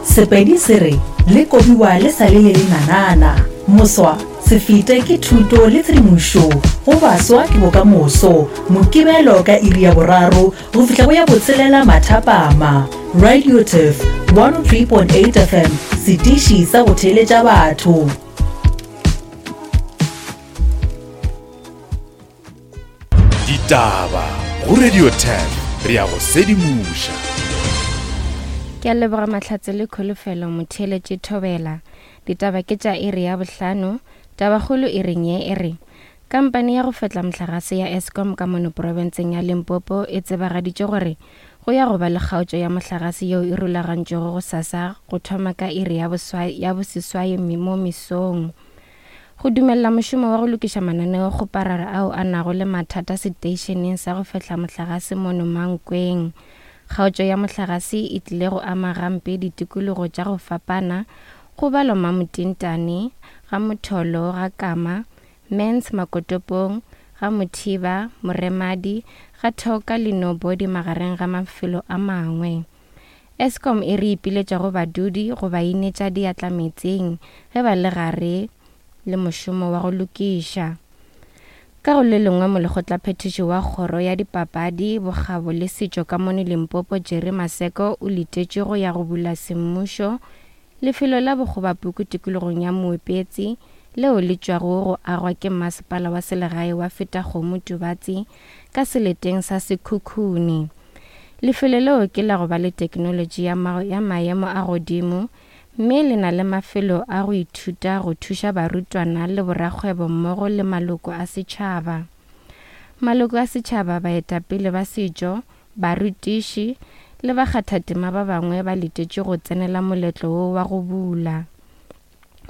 Sepedi se re, Le kobiwa le sa le le lenanana. Moswa, se fete ke thuto le tshedimošo go baswa ke bokamoso. Mokibelo ka iri ya boraro go fihla go ya botshelela mathapama. Radio Turf 103.8 FM, setiši sa go theeletša batho. Ditaba go Radio 10 re ya go sedimoša. Ke a leboga Mahlatse le Kholofelo Motheeletši Thobela. Ditaba ke tša iri ya bohlano. Tabakgolo iring ye e re Kampani ya go fetla mohlagase ya Eskom ka mono profenseng ya Limpopo e tsebagaditše gore go ya go ba le kgaotšo ya mohlagase yeo e rulagantšwego gosasa go thoma ka iri ya ya boseswai mo mesong. Go dumelela mošomo wa go lokiša mananeokgoparara ao a nago le mathata seteišeneng sa go fehla mohlagase mono Mankweng. Kgaotšo ya mohlagase e tlile go ama gampe ditikologo tša go fapana, go balwa Mamotintane, ga Motholo, ga Kama, Mans Makotopong, ga Mothiba, Moremadi, ga Thoka le Nobody magareng ga mafelo a mangwe. Eskom e re ipiletša go badudi go ba inetša diatla meetseng ge ba le gare le mošomo wa go lokiša. Ka go le lengwe molekgotlaphethiši wa kgoro ya dipapadi, bokgabo le setšo ka mono Limpopo Jerry Maseko o letetšwe go ya go bula semmušo lefelo la bokgobapuku tikologong ya Moepetsi leo le tšwago go agwa ke masepala wa selegae wa Fetakgomo Tubatse ka seleteng sa Sekhukhune. Lefelo leo ke la go ba le teknolotši ya, ya maemo a godimo mme le na le mafelo a go ithuta go thuša barutwana le borakgwebo mmogo le maloko a setšhaba. Maloko a setšhaba, baetapele ba setšo, barutiši le bakgathatema ba bangwe ba letetšwe go tsenela moletlo wo wa go bula.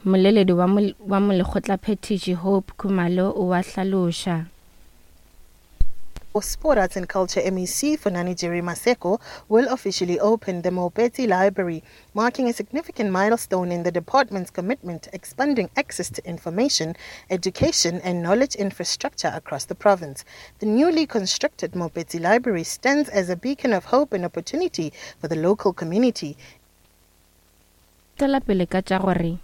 Mmoleledi wa, wa molekgotlaphethiši Hope Khumalo o a hlaloša. Sport, Arts and Culture MEC Funani Jerry Maseko will officially open the Moopetsi Library, marking a significant milestone in the department's commitment to expanding access to information, education and knowledge infrastructure across the province. The newly constructed Moopetsi Library stands as a beacon of hope and opportunity for the local community. Tšwela pele ka tša gore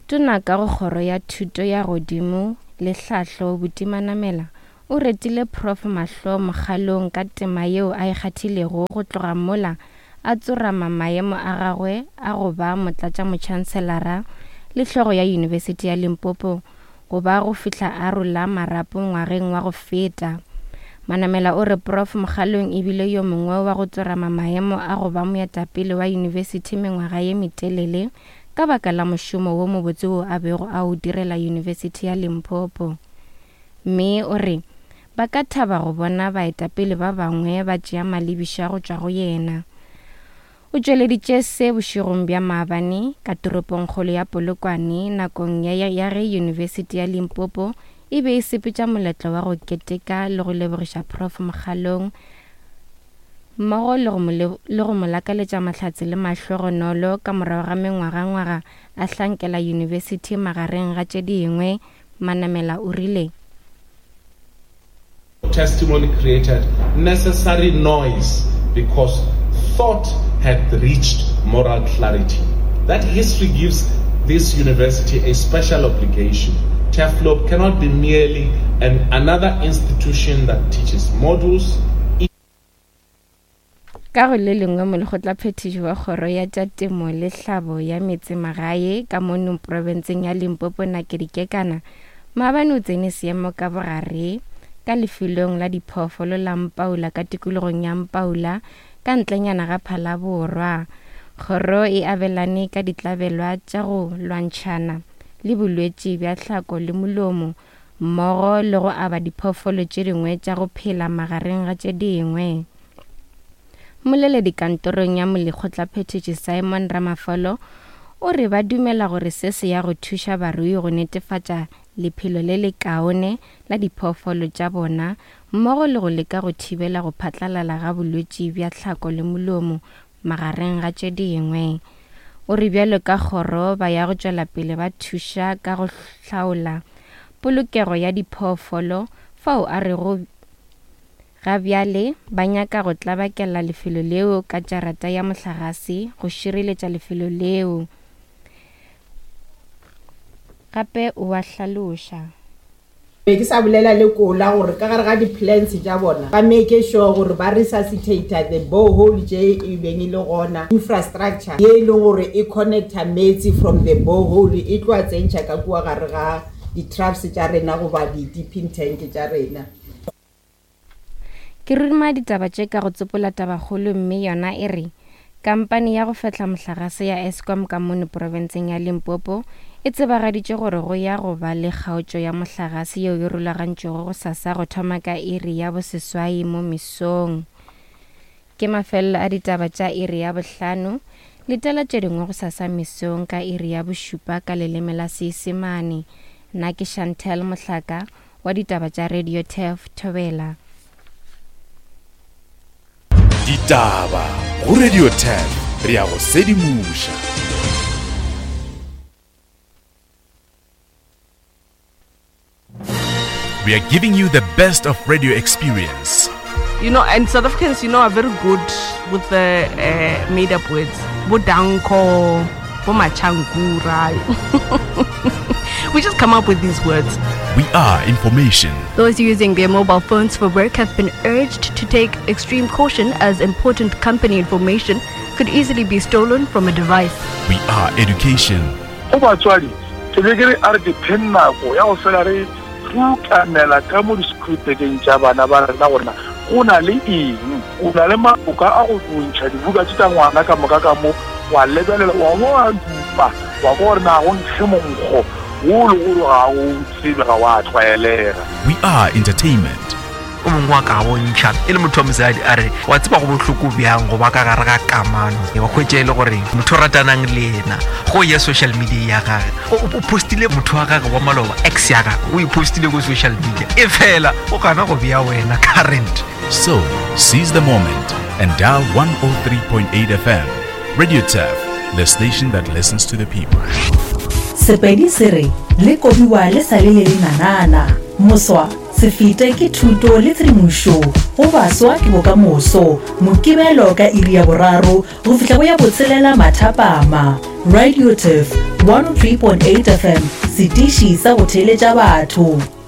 Tona ka go Kgoro ya Thuto ya Godimo le Hlahlo Buti Manamela o retile Prof Mahlo Mokgalong ka tema yeo a e kgathilego go tloga mola a tsorama maemo a gagwe a go ba motlatšamotšhanselara le hlogo ya Yunibesithi ya Limpopo go ba go fihla a rola marapo ngwageng wa go feta. Manamela o re Prof Mokgalong e bile yo mongwe wa go tsorama maemo a go ba moetapele wa yunibesithi mengwaga ye metelele ka baka la mošomo wo mobotse wo a bego a o direla Yunibesithi ya Limpopo. Mme o re ba ka thaba go bona baetapele ba bangwe ba tšea malebiša go tšwa go yena. O tšweleditše se bošegong bja maabane ka toropongkgolo ya Polokwane nakong ya ya ge Yunibesithi ya Limpopo e be e sepetša moletlo wa go keteka le go lebogiša Prof Mokgalong mmogo le go mo le go mo lakaletša mahlatse le mahlogonolo ka morago ga mengwagangwaga a hlankela yunibesithi magareng ga tše dingwe, Manamela o rile. Testimony created necessary noise because thought had reached moral clarity. That history gives this university a special obligation. Turfloop cannot be merely an, another institution that teaches modules. Ka go le lengwe, Molekgotlaphethiši wa Kgoro ya tša Temo le Hlabo ya Metsemagae ka mono profenseng ya Limpopo Nakedi Kekana maabane o tsene seemo ka bogare ka lefelong la diphoofolo la Mpaula ka tikologong ya Mpaula ka ntlenyana ga Phalaborwa. Kgoro e abelane ka ditlabelwa tša go lwantšhana le bolwetši bja hlako le molomo mmogo le go aba diphoofolo tše dingwe tša go phela magareng ga tše dingwe. Mmoleledi kantorong ya molekgotlaphethiši Simon Ramafolo o re ba dumela gore se se ya go thuša barui go netefatša lephelo le lekaone la diphoofolo tša bona mmogo le go leka go thibela go phatlalala ga bolwetši bja tlhako le molomo magareng ga tše dingwe. O re bjalo ka kgoro ba ya go tšwela pele ba thuša ka go hlaola polokego ya diphoofolo fao a rego ga bjale ba nyaka go tlabakela lefelo leo ka jarata ya mohlagase go šireletša lefelo leo. Gape o a hlaloša. Be ke sa bolela le Kola gore ka gare ga di-plans tša bona ba make sure gore ba resuscitate the borehole tše e beng e le gona, infrastructure ye e leng gore e connecta meetse from the borehole e tlo a tsentšha ka kua gare ga di-troughs tša rena goba di-dipping tank tša rena. Ke ruma ditaba tše ka go tsopola tabakgolo mme yona e re, Kampani ya go fehla mohlagase ya Eskom ka mono profenseng ya Limpopo e tsebagaditše gore go ya go ba le kgaotšo ya mohlagase yeo e rulagantšwego gosasa go thoma ka iri ya boseswai mo mesong. Ke mafelelo a ditaba tša iri ya bohlano. Letela tše dingwe gosasa mesong ka iri ya bošupa ka leleme la Seisemane. Nna ke Chantel Mohlaka wa ditaba tša Radio Turf Thobela. Ditaba go Radio Turf re ya go sedimoša. We are giving you the best of radio experience. You know, and South Africans, you know, are very good with the uh, made up words. Bodanko, Bomachankura. We just come up with these words. We are information. Those using their mobile phones for work have been urged to take extreme caution as important company information could easily be stolen from a device. We are education. Go batswadi, ke be ke re a re dipheng nako ya go fela re rukanela ka mo disekhuritekeng tša bana ba rena gore na go na le eng. O na le maboka a go ntšha dibuka tše tša ngwana ka moka ka mo, wa lebelela, wa bo wa dupa, wa kwa gore na go nkge monkgo wo le gore ga o tsebe, ga wa tlwaelega. We are entertainment. O mongwe wa ka bontšha e le motho wa mosadi a re, Wa tseba go bohloko bjang go ba ka gare ga kamano, wa hwetša e le gore motho o ratanang le yena go ya social media ya gage o postile motho wa gage wa maloba, ex ya gage o e postile ko social media, e fela o gana go bea wena current. So, seize the moment and dial 103.8 FM. Radio Turf, the station that listens to the people. Sepedi se re le kobiwa le sa le le lenanana. Moswa, se fete ke thuto le tshedimošo go baswa ke bokamoso. Mokibelo ka iri ya boraro go fihla go ya botshelela mathapama. Radio Turf 103.8 FM, setiši sa go theeletša batho.